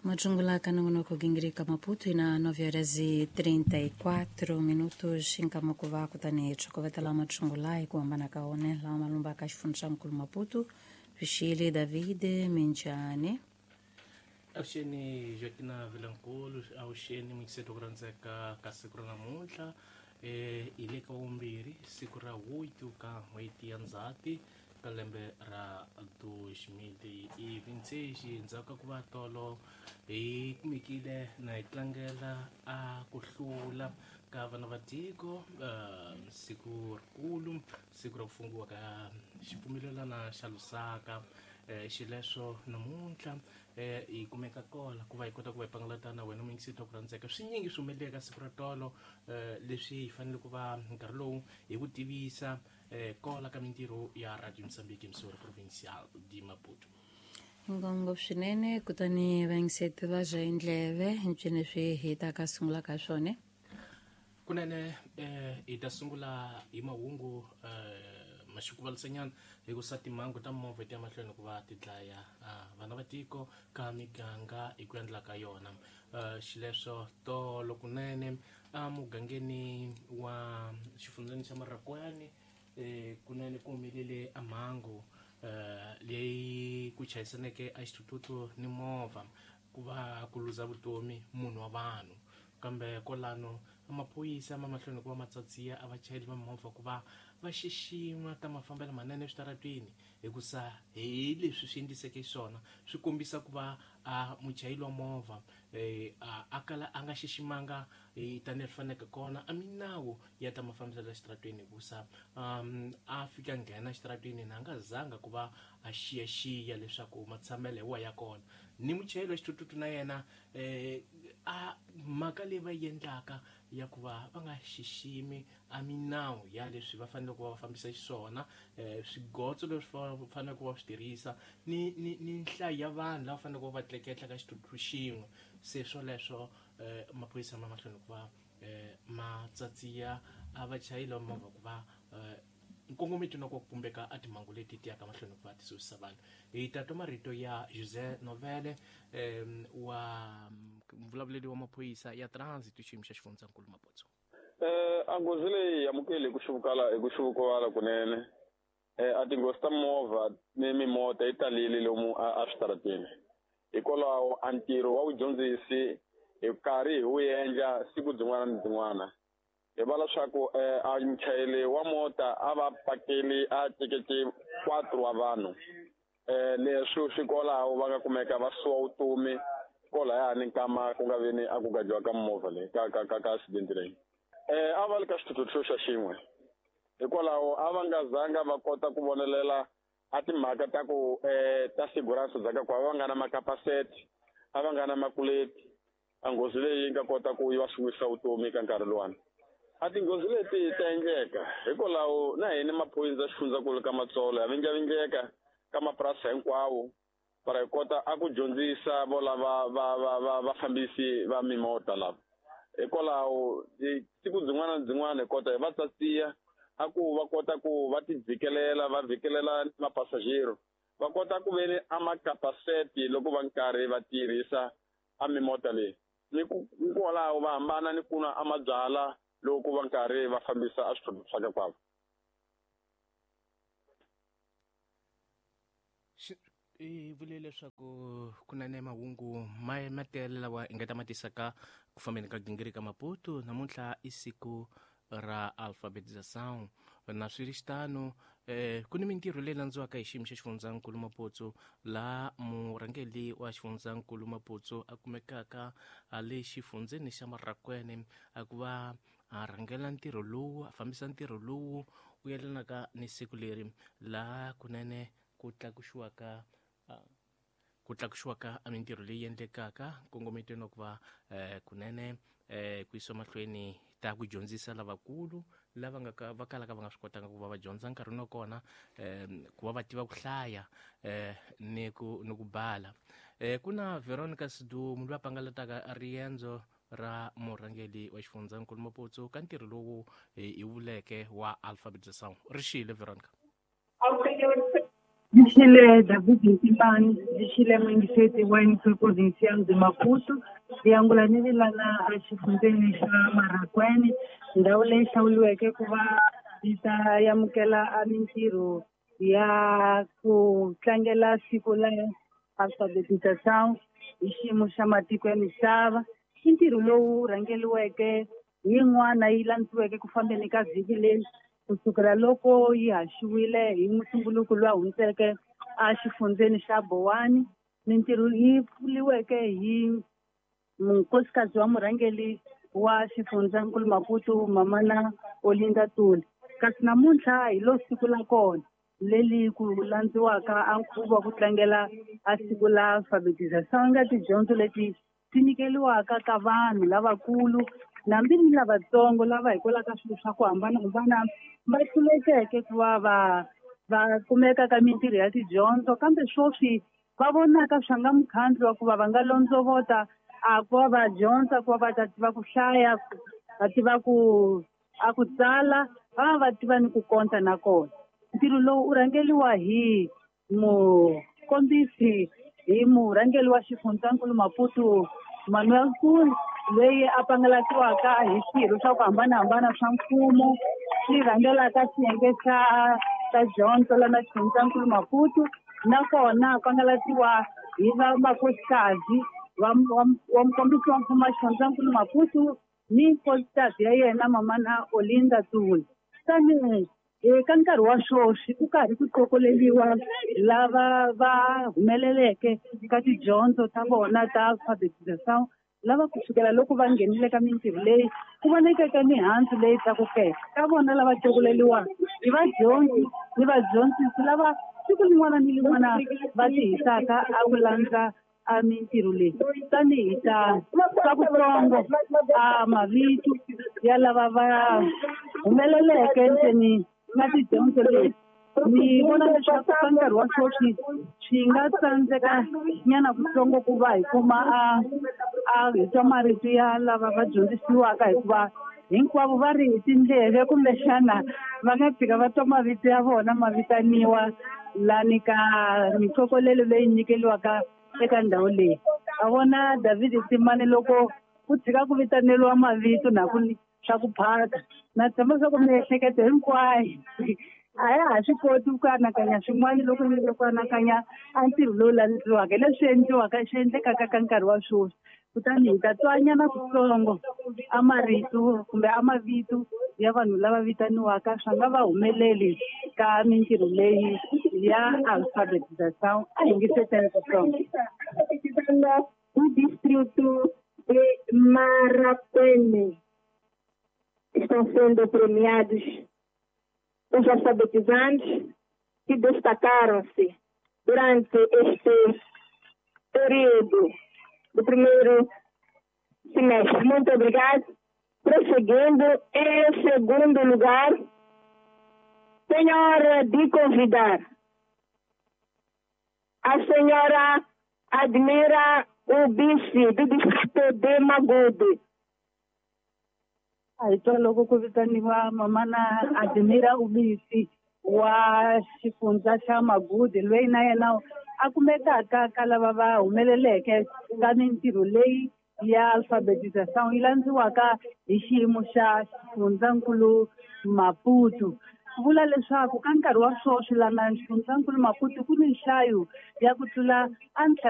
Majungula kanongonoko gingirika Maputo ina 9 horas e 34 minutos nkamukuva kutani tshokovetela matshungula hi ku hambana ka one lawa malumba ka xifundza xa nkulu Maputo Vixile David Minjani. Avuxeni Joaquina Vilankulu, avuxeni muyingiseri ku rhandzeka ka siku ra namuntlha. Hi le ka vumbirhi siku ra 8 ka n'hweti ya Ndzhati ka lembe ra 2026. Endzhaku ka ku va tolo hi kumekile na hi tlangela a ku hlula ka vana va tiko, siku rikulu, siku ra ku fungiwa ka xipfumelelana xa Lusaka. Xileswo namuntlha hi kumeka kola ku va hi kota ku va hi pangalata na wena muyingiseri ku rhandzeka. Swinyingi swi humelele ka siku ra tolo, leswi hi fanele ku va nkarhi lowu hi ku tivisa kola ka mintirho ya Radio Mozambique Msori Provincial de Maputo. Ngongo swinene kutani vayingiseti va dya indleve ncini leswi hi ta ka sungula ka swona. Kunene hi ta sungula hi mahungu maxikuvalisanyana hi ku sa timhangu ta movha ti ya mahlweni ku va ti dlaya vana va tiko ka miganga hi ku endla ka yona. Xileswo tolo kunene emugangeni wa xifundzeni xa Marakwani, kunene ku humelele a mhangu leyi ku chayisaneke a xithuthuthu ni movha ku va ku luza vutomi munhu wa vanhu. Kambe kwalano maphorisa ma mahlweni ku va matsatsiya a vachayeri va movha ku va va xixima ta mafambelo manene eswitarateni, hikusa hi leswi swi endliseke xiswona swi kombisa ku va a muchayeri wa movha a kala a nga xiximanga tanihi swi faneleke kona a minawu ya ta mafambiselo ya xitarateni, hikusa a fika nghena xitarateni na a nga zanga ku va a xiyaxiya leswaku matshamelo hi wa ya kona. Ni muchayeri wa xithuthuthu na yena a mhaka leyi va yi endlaka ya ku va va nga xiximi a minawu ya leswi va fanele ku va va fambisa xiswona, swigotso leswi va faneleke ku va swi tirhisa ni nhlayo ya vanhu lava faneleke ku va va tleketla ka xithuthuthu xin'we. Se swoleswo maphorisa ma mahlweni ku va ma tsatsiya a vachayeri va movha ku va nkongometo na ku pumbeka a timhangu leti ti yaka mahlweni ku va ti susisa vanhu. Hi ta twa marito ya José Novele, wa mvulavuleli wa maphorisa ya transit xiyimo xa xifundzankulu Maputo. A nghozi leyi amukeli hi ku xivukala hi ku xivukuvala kunene. A tinghozi ta movha ni mimota yi talile lomu a switarateni, hikwalaho a ntirho wa vudyondzisi hi karhi hi wu endla siku byin'wana ni byin'wana. Hi va leswaku a muchayeri wa mota a va pakeli a tekete 4 wa vanhu, leswi swi kwalaho va nga kumeka va suwa vutomi kwalayani nkama ku nga veni a ku gajiwa ka movha leyi ka ka ka ka accident leyi. A va li ka xithuthuthu xa xin'we, hikwalaho a va nga zanga va kota ku vonelela a timhaka ta ku ta sigurance bya ka ku a va nga na makapaseti, a va nga na makuleti. A nghozi leyi yi nga kota ku yi va suwisa vutomi ka nkarhi luwani. A tinghozi leti ta endleka hikwalaho na hina maphorisa xifundzankulu ka Matsolo ya vindlavindleka ka mapurasi hinkwawo para hi kota a ku dyondzisa vo lava va va va vafambisi va mimota lava. Hikwalaho siku byin'wana na byin'wana hi kota hi va tsatsiya a ku va kota ku va ti vhikelela, va vhikelela mapasajero, va kota ku veni a makapaseti loko va nkarhi va tirhisa a mimota leyi, ni ku kwalaho va hambana ni ku nwa a mabyala loko va nkarhi va fambisa a swithuthuthu swa ka kwavo. I vule leswaku ku na ne mahungu ma tele lawa hi nga ta ma tisaka ku fambeni ka gingiri ka Maputo. Namuntlha i siku ra alfabetização, na swi ri xitano ku ni mintirho leyi landziwaka hi xiyimo xa xifundzankulu Maputo, laha murhangeri wa xifundzankulu Maputo a kumekaka a le xifundzeni xa Marakwene a ku va a rhangela ntirho lowu, a fambisa ntirho lowu wu yelanaka ni siku leri laha kunene ku tlakusiwaka a mintirho leyi endlekaka nkongometweni wa ku va kunene ku yisiwa mahlweni ta ku dyondzisa lavakulu lava nga ka va kalaka va nga swi kotanga ku va va dyondza nkarhini wa kona, ku va va tiva ku hlaya ni ku bala. Ku na Veronica Sidumo loyi a pangalataka riendzo ra murhangeri wa xifundzankulu Maputo ka ntirho lowu hi vuleke wa alfabetization. Ri xile Veronica. Xile David Ntimbani, xile muyingiseti wa NP Provincial de Maputo, yangula ni vilana exifundzeni xa Marracuene, ndhawu leyi hlawuriweke ku va yi ta amukela a mintirho ya ku tlangela siku la alfabetização hi xiyimo xa matiko ya misava. I ntirho lowu rhangeriweke hi yin'wana yi landziweke ku fambeni ka vhiki leyi kusukela loko yi haxiwile hi mutumbuluko lowu hundzeke a xifundzeni xa Bowani. Mintirho yi pfuriweke hi nkosikazi wa murhangeri wa xifundzankulu Maputo Mamana Olinda Tuli. Kasi namuntlha hi lo siku la kona leli ku landziwaka a nkhuvo wa ku tlangela a siku la alfabetização nga tidyondzo leti ti nyikeriwaka ka vanhu lavakulu hambi ni lavatsongo lava hikwalaho ka swilo swa ku hambanahambana va hlulekeke ku va va kumeka ka mintirho ya tidyondzo, kambe sweswi va vonaka swa nga mukhandlu wa ku va va nga londzovota a ku va va dyondza, ku va va ta tiva ku hlaya, va tiva ku a ku tsala, va tiva ni ku konta na kona. Ntirho lowu u rhangeriwa hi mukombisi hi murhangeri wa xifundzankulu Maputo Manuel Nkulu, loyi a pangalatiwaka hi swirho swa ku hambanahambana swa mfumo swi rhangelaka xiyenge xa ta dyondzo lana xifundzankulu Maputo, nakona pangalatiwa hi vamakosikazi wa mukombisi wa mfumo wa xifundzankulu Maputo ni nkosikazi ya yena Mamana Olinda Tuli. Tanihi eka nkarhi wa sweswi ku karhi ku qokoleriwa lava va humeleleke ka tidyondzo ta vona ta alfabetização, lava kusukela loko va nghenile ka mintirho leyi ku vonekeke mihandzu leyi tlakukeke ka vona lava qokoleriwaka hi vadyondzi ni vadyondzisi lava siku rin'wana ni rin'wana va tihisaka a ku landza a mintirho leyi. Tanihi ta swa kutsongo a mavito ya lava va humeleleke ntseni na tidyondzo leti, ni vona leswaku ka nkarhi wa sweswi swi nga tsandzeka nyana kutsongo ku va hi kuma a hi twa marito ya lava va dyondzisiwaka, hikuva hinkwavo va ri hi tindleve kumbexana va nga tshika va twa mavito ya vona ma vitaniwa lani ka mikokolelo leyi nyikeriwaka eka ndhawu leyi. A vona David Timani loko ku tshika ku vitaneriwa mavito na ku swa ku phaka, na tshemba swa ku miehleketo hinkwayo a ya ha swi koti ku anakanya swin'wana loko ni ku anakanya a ntirho lowu landziwaka leswi endliwaka swi endlekaka ka nkarhi wa sweswi. Kutani hi ta twanyana kutsongo a marito kumbe a mavito ya vanhu lava vitaniwaka swa nga va humeleli ka mintirho leyi ya alfabetização. A yingiseteni kutsongo. Do distrito de Marracuene estão sendo premiados os alfabetizantes que destacaram-se durante este período do primeiro semestre. Muito obrigado. Prosseguindo, em segundo lugar, tenho a honra de convidar a senhora Admira Ubisi, do distrito de Magude. A hi twa loko ku vitaniwa Mamana Admira Ubisi wa xifundza xa Magude, loyi na yena a kumekaka ka lava va humeleleke ka mintirho leyi ya alfabetização yi landziwaka hi xiyimo xa xifundzankulu Maputo. Vula leswaku ka nkarhi wa sweswi lana xifundzankulu Maputo ku ni nhlayo ya ku tlula a